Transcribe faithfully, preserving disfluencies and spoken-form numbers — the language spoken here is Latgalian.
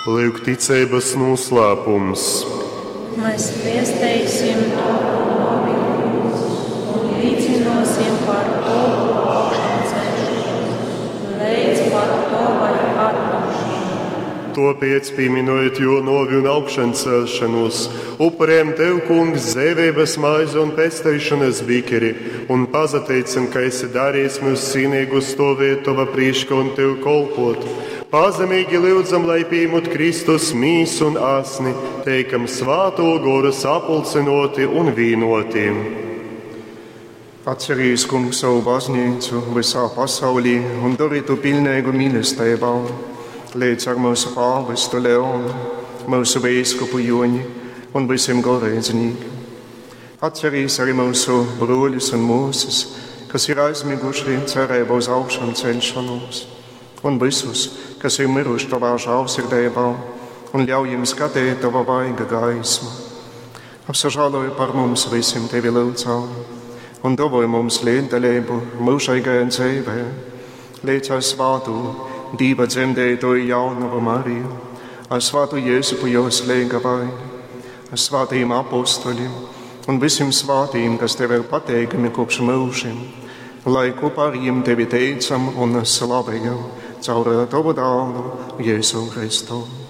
Lyuk ticeibas nūslēpums. Mēs viesteisim Tovu nōvi, Kungs, un līcynōsim par Tovu augšancelšanos, leidz pat Tovai atnōkšanai. Tōpēc, pīminojot jō nōvi un augšancelšanos, upurējam Tev, Kungs, dzeiveibas maizi un pesteišanas bikeri, un pasateicam, ka esi darījis myus cīnīgus stovēt Tova prīškā un Tev kolpot. Pazemīgi lyudzam, lai pīmut Kristus mīsu un asni, teikam svātō gora sapulcinoti un vīnoti. Atcerīs, Kungs, savu baznīcu visā pasaulī un dori tu pilnīgu mīlestībā, līdz ar mūsu pāvestu Leonu, mūsu bīskapu Joni un visiem goreidznīkiem. Atcerīs arī mūsu broļus un mūsas, kas ir aizmiguši cerībā uz augšām celšanos, un visus, kas ir miruši tavā žēlsirdībā, un ļauj jums skatīt tava vaiga gaismu. Apsažāloji par mums visiem tevi lūdzam, un dāvāj mums līdzdalību mūžīgajā dzīvē, līdz ar svātu Dieva dzemdētoju jaunavu Mariju, ar svātu Jēzupu jos lēgavaini, ar svātajiem apostoļiem un visiem svātījiem, kas tev ir pateikami kopš mūžiem, lai kopā ar viņiem tevi teicam un slavējam caur tavu dālu Jēzu Kristu.